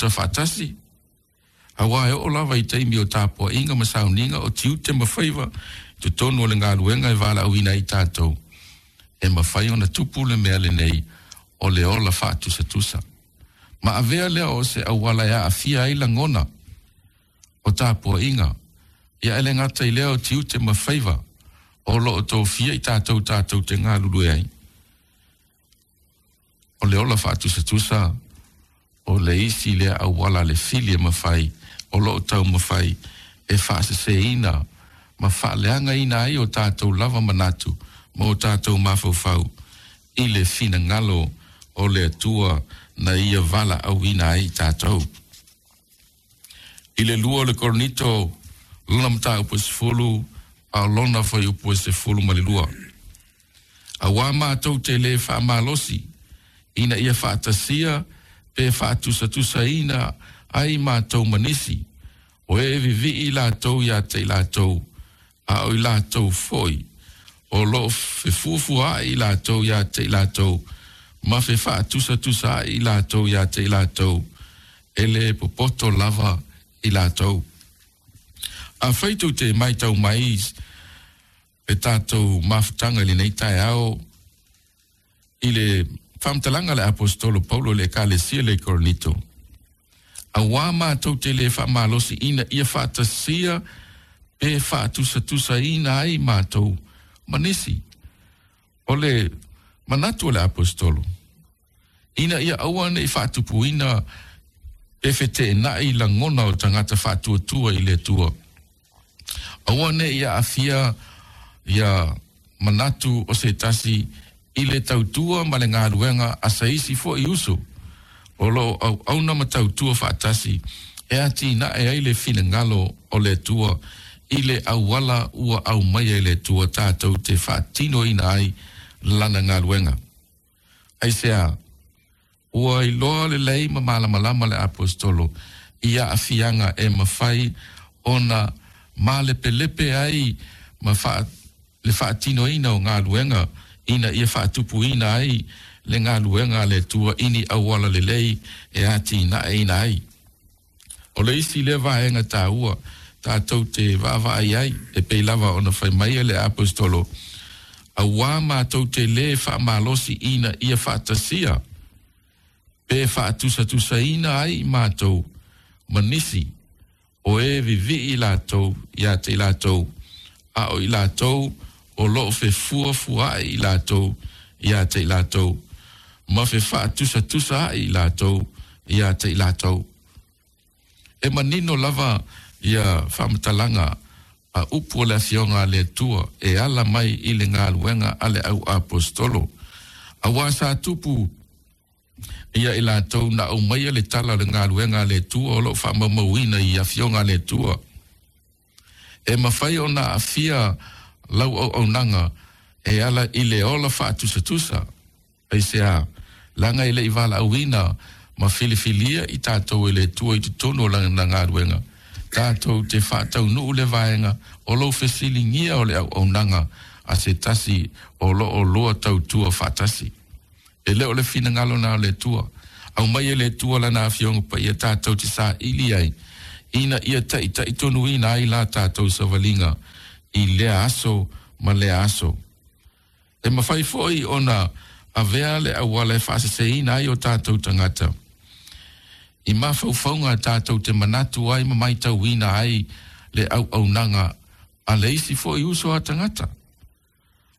tusatusa faatasi, auā e oo lava i taimi o tapuaiga ma sauniga o tiute ma faiva i totonu o le galuega e valaauina ai tatou, e mafai ona tupu le mea lenei o le ola faatusatusa. Ma avea lea o se auala e aafia ai lagona o tapuaiga, ia e le gata i lea o tiute ma faiva o lo o tofia i tatou tatou te galulue ai. O le ola faatusatusa o le isi lea auala a le fili e mafai o lo o taumafai e faaseseina ma faaleagaina ai o tatou lava manatu ma o tatou mafaufau i le finagalo o le Atua na Ia valaauina ai tatou. I le 2 o le Korinito, lona mataupu e 10, a o lona fuaiupu e 12. Auā matou te lē faamalosi ina ia faatasia pe faatusatusaina ai matou ma nisi, o e vivii latou iā te i latou, a o i latou foi o lo o fefuafuaai i latou iā te i latou ma fefaatusatusaai i latou iā te i latou, e lē popoto lava i latou. Afai tou te maitau mai le tatou mafutaga i lenei taeao i le faamatalaga a le Aposetolo Paulo i le Ekalesia lea i Korinito, auā matou te lē faamalosi ina ia faatasia pe faatusatusaina ai matou ma nisi. O le manatu o le Aposetolo, ina ia aua ne i faatupuina pe feteenai lagona o tagata faatuatua i le Atua. Aua ne i aafia ia manatu o se tasi i le tautua ma le galuega a se isi foi uso o lo o auauna ma tautua faatasi e atinae ai le finagalo o le Atua i le auala ua aumaia e le Atua tatou te faatinoina ai Lana galuega. Aisea? Ua iloa lelei ma malamalama le Aposetolo i aafiaga e mafai ona malepelepe ai ma le faatinoina o galuega ina ia faatupuina ai le galuega a le Atua i ni auala lelei e atinaeina ai. O le isi lea vaega taua tatou te vaavaai ai, e pei lava ona fai mai e le Aposetolo, Auā matou te lē faamalosi ina ia faatasia pe faatusatusaina ai matou ma nisi o e vivii latou iā te i latou, a o i latou o lo o fefuafuaai i latou iā te i latou, ma fefaatusatusa ai i latou iā te i latou. E manino lava ia faamatalaga a upu o le Afioga a le Atua e ala mai i le galuega a le au Aposetolo, auā sa tupu ia i latou na aumaia le tala o le galuega a le Atua o lo o faamaumauina i Afioga a le Atua. E mafai ona aafia lau auaunaga e ala i le ola faatusatusa. Aisea? Leaga e le i valaauina ma filifilia i tatou e le Atua i totonu o Lana galuega, tatou te faataunuu le vaega o lou fesiligia o le auaunaga a se tasi o lo o lua tautua faatasi. E le o le finagalo na o le Atua. Aumai e le Atua Lana Afioga Paia tatou te saili ai, ina ia taitaitonuina ai la tatou savaliga i lea aso ma lea aso. E mafai foi ona avea le auala e faaseseina ai o tatou tagata i mafaufauga tatou te manatu ai ma maitauina ai le auaunaga a le isi foi uso a tagata.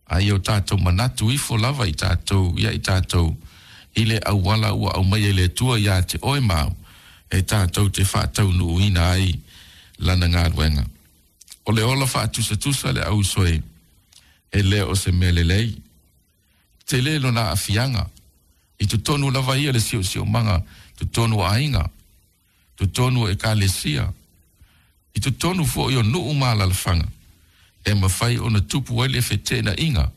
A ia o tatou manatu ifo lava i tatou ia i tatou i le auala ua aumaia e le Atua iā te oe ma au e tatou te faataunuuina ai Lana galuega. O le ola faatusatusa le ausoe e le o se mea lelei. Tele lona aafiaga i totonu lava ia le siosiomaga, totonu o aiga, totonu o ekalesia, i totonu foi o nuu ma alalafaga, e mafai ona tupu ai le feteenaiga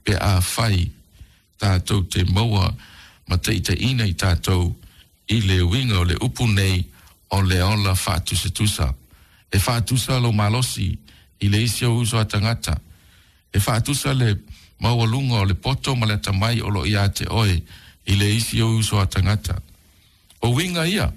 pe afai tatou te maua ma taitaiina i tatou i le uiga o le upu nei o le ola faatusatusa. E faatusa lou malosi i le isi ou uso a tagata. E faatusa le maualuga o le poto ma le atamai o lo o iā te oe i le isi ou uso a tagata. O uiga ia.